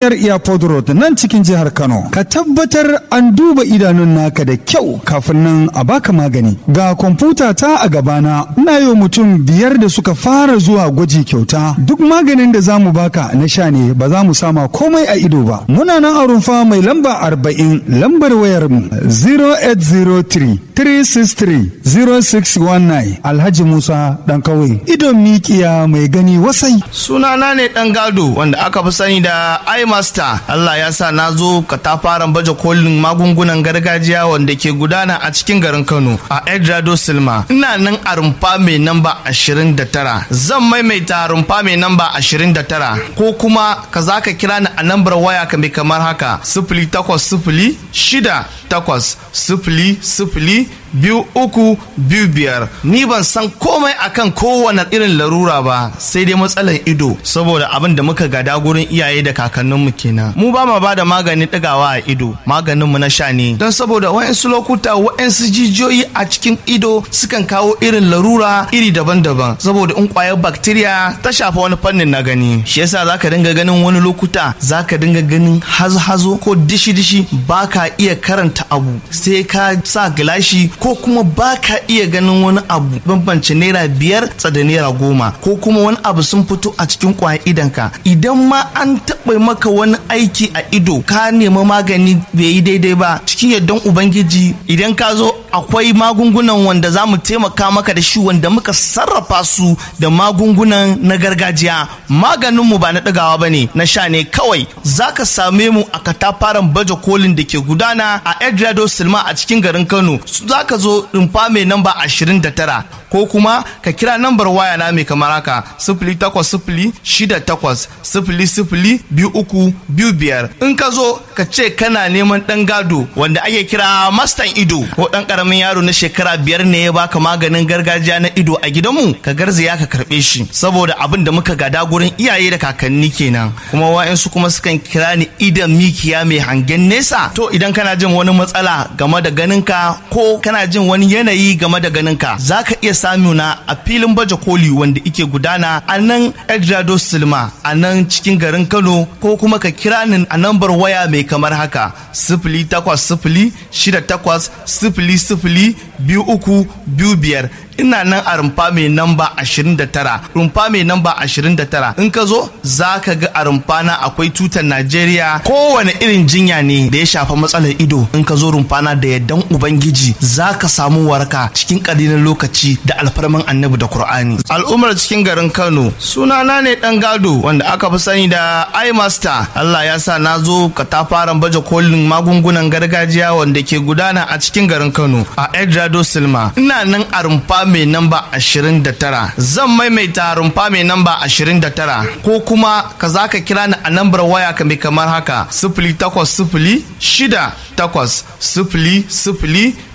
hanyar Airport Road nan cikin jihar Kano. Ka tabbatar an duba idanun naka da kyau kafin nan a baka magani. Ga kwamfuta ta a gabana, ina yi mutum 5 da suka fara zuwa gwaji kyauta. Duk maganin da za mu baka na sha ne, ba za mu sama komai a ido ba. Muna nan a rumfa mai lamba 40, lambar wayar mu 0803 363 0619. Alhaji Musa Dan Kawai. Idon mikiya mai gani wasai. Sunana ne Dan Gado wanda aka fi sani da iMaster. Allah ya sa na zo katafaren baje kolin magungunan gargajiya wanda ke gudana a cikin garin Kano a Edrado Silma. Ina nan a rumfa mai namba 29. Zan maimaita, rumfa mai namba 29, ko kuma ka za ka kira ni a nambar waya ka mai kamar haka: 0806800002325. Ni ban san komai akan kowane irin larura ba sai dai matsalar ido, saboda abin da muka gada gurin iyaye da kakanninmu kenan. Mu ba ma ba da magani ɗigawa a ido, maganinmu na sha ne, don saboda wa'insu lokuta wa'insu jijiyoyi a cikin ido sukan kawo irin larura iri daban-daban, saboda in kwayar bacteria ta shafa wani fannin na gani, shi yasa zaka dinga ganin wani lokuta zaka dinga ganin hazo-hazo ko dishi-dishi, baka iya karanta abu sai ka sa gilashi, ko kuma baka iya ganin wani abu bambance naira 5 tsada naira 10, ko kuma wani abu sun fito a cikin kwayar idonka. Idan ma an taɓa maka wani aiki a ido, ka nemi magani bai yi daidai ba, cikin yardan Ubangiji idan ka zo akwai magungunan wanda za mu taimaka maka da shi wanda muka sarrafa su da magungunan na gargajiya. Maganinmu ba na ɗigawa ba ne, na sha ne kawai. Za ka same mu a katafaren baje kolin da ke gudana a Edrado Silma a cikin garin Kano. Za ka zo rumfa mai namba 29, ko kuma ka kira nambar waya na mai kamar haka: 0806800002325. In ka zo ka ce kana neman Dan Gado wanda ake kira Mastan Ido, ko dan karamin yaro na shekara 5 ne ya baka maganin gargajiya na ido a gidanmu, ka garzaya ka karbe shi, saboda abin da muka gada gurin iyaye da kakanni kenan. Kuma wa'ansu kuma sukan kira ni idan mikiya mai hangen nesa. To idan kana jin wani matsala game da ganinka ko kana jin wani yanayi game da ganinka, zaka iya samuna a filin baje koli wanda ike gudana a nan Edrado Silma a nan cikin garin Kano, ko kuma ka kira ni a nambar waya mai kamar haka: 0806800002325. Ina nan a rumfa mai namba 29, rumfa mai namba 29. In ka zo za ka ga a rumfa na akwai tutar Najeriya. Kowane irin jinya ne da ya shafa matsalar ido, in ka zo rumfa na, da yardan Ubangiji za ka samu waraka cikin ƙalilan lokaci da alfarman Annabi da Kur'ani. Al'ummar cikin garin Kano, sunana ne Dan Gado wanda aka fi sani da iMaster. Allah ya sa na zo katafaren baje kolin magungunan gargajiya wanda ke gudana a cikin garin Kano a Edrado Silma. Ina nan a rumfa mai namba 29. Zan maimaita, rumfa mai namba 29, ko kuma ka za ka kira ni a nambar waya ka mai kamar haka: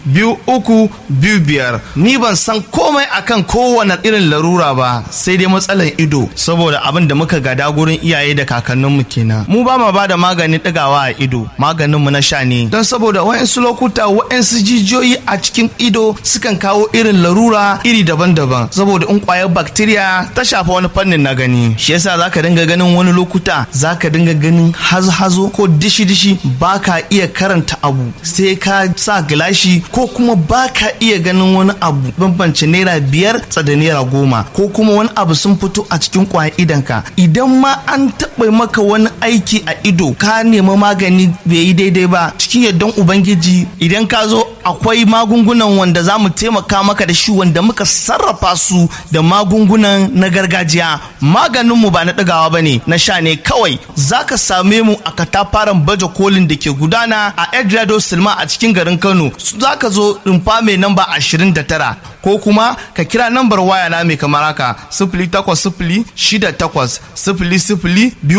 0806800002325. Ni ban san komai akan kowane irin larura ba sai dai matsalar ido, saboda abin da muka gada gurin iyaye da kakanninmu kenan. Mu ba ma ba da magani ɗigawa a ido, maganinmu na sha ne, don saboda wa'insu lokuta wa'insu jijiyoyi a cikin ido sukan kawo irin larura iri daban-daban, saboda in kwayar bacteria ta shafa wani fannin na gani, shi yasa zaka dinga ganin wani lokuta zaka dinga ganin hazo-hazo ko dishi-dishi, baka iya karanta abu sai ka sa gilashi, ko kuma baka iya ganin wani abu bambance naira 5 tsada naira 10, ko kuma wani abu sun fito a cikin kwayar idonka. Idan ma an taɓa maka wani aiki a ido, ka nemi magani bai yi daidai ba, cikin yardan Ubangiji idan ka zo akwai magungunan wanda za mu taimaka maka da shi wanda muka sarrafa su da magungunan na gargajiya. Maganinmu ba na ɗigawa ba ne, na sha ne kawai. Za ka same mu a katafaren baje kolin da ke gudana a Edrado Silma a cikin garin Kano. Za ka zo rumfa mai namba 29, ko kuma ka kira nambar waya na mai kamar haka: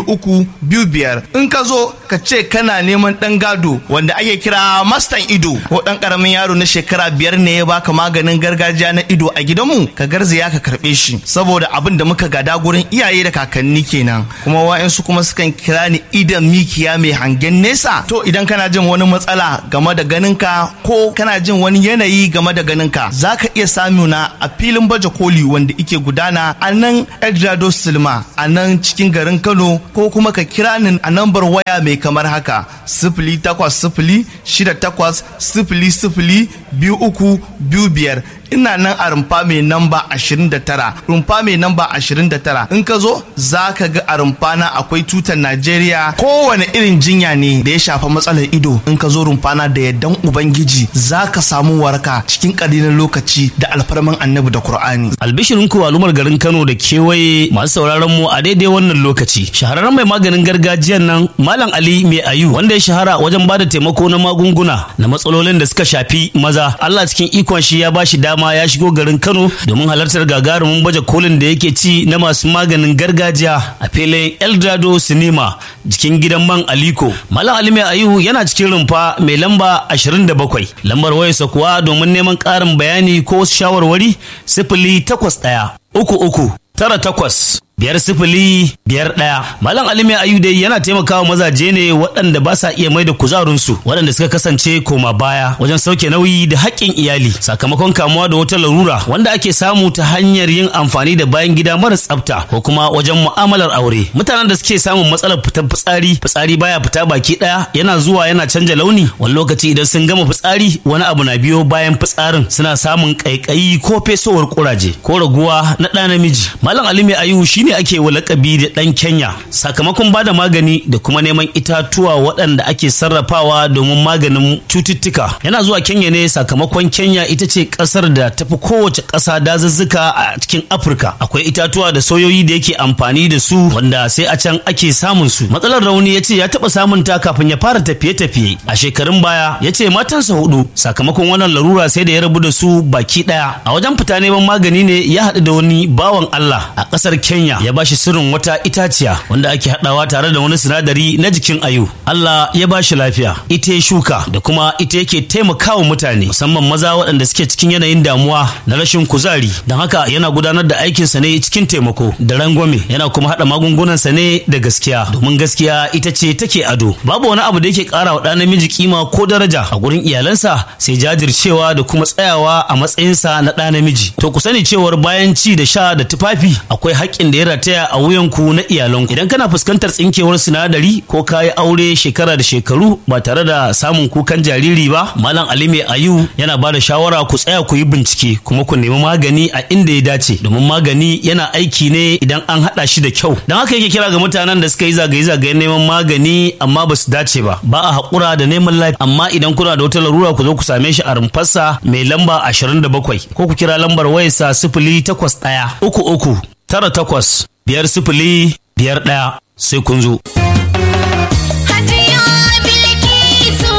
0806800002325. In ka zo ka ce kana neman Dan Gado wanda ake kira Mastan Ido, ko dan karamin yaro na shekara 5 ne ya baka maganin gargajiya na ido a gidanmu, ka garzaya ka karbe shi, saboda abin da muka gada gurin iyaye da kakanni kenan. Kuma wa'ansu kuma sukan kira ni idan mikiya mai hangen nesa. To idan kana jin wani matsala game da ganinka ko kana jin wani yanayi game da ganinka, za ka iya samuna a filin baje koli wanda ike gudana a nan Edrado Silma a nan cikin garin Kano, ko kuma ka kira ni a nambar waya mai kamar haka: 0806800002325. Ina nan a rumfa mai namba 29, rumfa mai namba 29. In ka zo za ka ga a rumfa na akwai tutar Najeriya. Kowane irin jinya ne da ya shafa matsalar ido, in ka zo rumfa na, da yardan Ubangiji za ka samu waraka cikin ƙalilan lokaci da alfarman Annabi da Kur'ani. Albishirinku al'ummar garin Kano da kewaye masu sauraron mu a daidai wannan lokaci. Shahararren mai maganin gargajiyan nan Malam Ali Mai Ayu, wanda ya shahara wajen bada taimako na magunguna na matsalolin da suka shafi maza. Allah cikin ikon shi ya bashi dama ya shigo garin Kano domin halartar gagarumin baje kolin da yake ci na masu maganin gargajiya a filin Eldorado Cinema, jikin gidan man Aliko. Malam Ali Mai Ayu yana cikin rumfa mai lamba 27. Lambar wayarsa kuwa domin neman ƙarin bayani ko wasu shawarwari: 08133985051. Malam Ali Mai Ayu dai yana taimakawa mazaje ne waɗanda ba sa iya mai da kuzarinsu, waɗanda suka kasance koma baya wajen sauke nauyi da haƙƙin iyali sakamakon kamuwa da wata larura wanda ake samu ta hanyar yin amfani da bayan gida mara tsafta ko kuma wajen mu'amalar aure. Mutanen da suke samun matsalar fitar fitsari, fitsari baya fita baki ɗaya, yana zuwa yana canja launi. Wani lokaci idan sun gama fitsari wani abu na biyo bayan fitsarin, suna samun ƙaiƙayi ko fesowar ƙuraje ko raguwa na ɗa namiji. Malam Ali Mai Ayu shine ake wa lakabi da ɗan Kenya sakamakon bada magani da kuma neman itatuwa waɗanda ake sarrafawa domin maganin cututtuka. Yana zuwa Kenya ne sakamakon Kenya ita ce ƙasar da tafi kowace ƙasa dazuzzuka a cikin Afirka. Akwai itatuwa da soyoyi da yake amfani da su wanda sai a can ake samun su. Matsalar rauni ya ce ya taɓa samun ta kafin ya fara tafiye-tafiye a shekarun baya. Ya ce matansa hudu, sakamakon wannan larura sai da ya rabu da su baki ɗaya. A wajen fita neman magani ne ya haɗu da wani bawan Allah a ƙasar Kenya, ya bashi sirrin wata itaciya wanda ake haɗawa tare da wani sinadari na jikin ayu. Allah ya bashi lafiya. Ita ya shuka da kuma ita yake taimakawa mutane, musamman maza waɗanda suke cikin yanayin damuwa na rashin kuzari. Don haka yana gudanar da aikinsa ne cikin taimako da rangwame, yana kuma haɗa magungunansa ne da gaskiya, domin gaskiya ita ce take ado. Babu wani abu da yake ƙara wa ɗa namiji kima ko daraja a gurin iyalansa sai jajircewa da kuma tsayawa a matsayinsa na ɗa namiji. To ku sani cewar bayan ci da sha da tufafi, akwai haƙƙin da ya rataya a wuyanku na iyalanku. Idan kana fuskantar tsinkewar sinadari ko kayi aure shekara da shekaru ba tare da samun kukan jariri ba, Malam Ali Mai Ayu yana ba da shawara ku tsaya ku yi bincike kuma ku nemi magani a inda ya dace, domin magani yana aiki ne idan an haɗa shi da kyau. Don haka yake kira ga mutanen da suka yi zagaye-zagayen neman magani amma ba su dace ba. Ba a haƙura da neman lafiya, amma idan kuna da wata larura ku zo ku same shi a rumfarsa mai lamba 27 ko ku kira lambar wayarsa 08133985051. Sai kun zo. Hajiya Bilkisu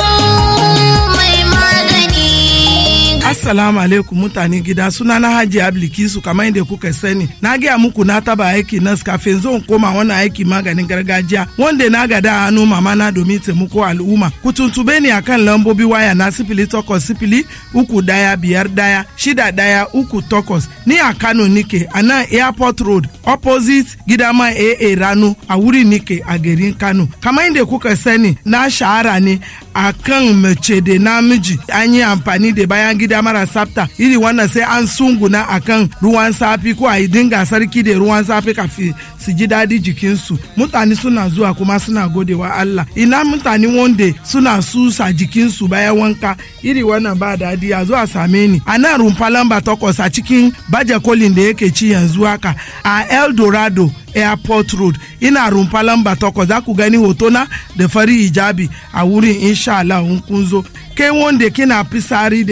mai magani. Assalamu alaikum mutane gida, suna na Hajiya Bilkisu. Kamar yadda kuka sani, na gaya muku na taba aiki nas kafin zan koma wannan aiki maganin gargajiya wanda na gada a hannu mama na domin taimako al'umma. Ku tuntube ni akan lambobi waya na 08031516138. Ni a Kano nike a nan Airport Road, opposite Gidama AA Rano, a wuri nike a garin Kano. Kamar yadda kuka sani, na shahara ne a kan mace da namiji an yi amfani da bayan gida mara tsafta, iri wannan sai an sunguna akan ruwan safi ko a yi dinga sarki da ruwan safi kafin su ji daɗi jikinsu. Mutane suna zuwa kuma suna godewa Allah. Ina mutane wanda suna susa jikinsu bayan wanka, iri wannan ba daɗi, a zuwa same ni a nan rumfa lamba 8 a cikin baje kolin da yake ci yanzu haka a Eldorado Airport Road. Ina rumfa lamba 8, za ku gani hotona da fari hijabi a wurin, insha Allah in kun zo. Kai wanda kina fisari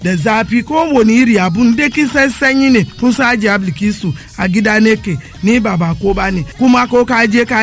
da zafi ko wani iri abun da kin san sanyi ne, kun san Hajiya Bilkisu a gida ne ke ni ba ko ba ne kuma ko ka je ka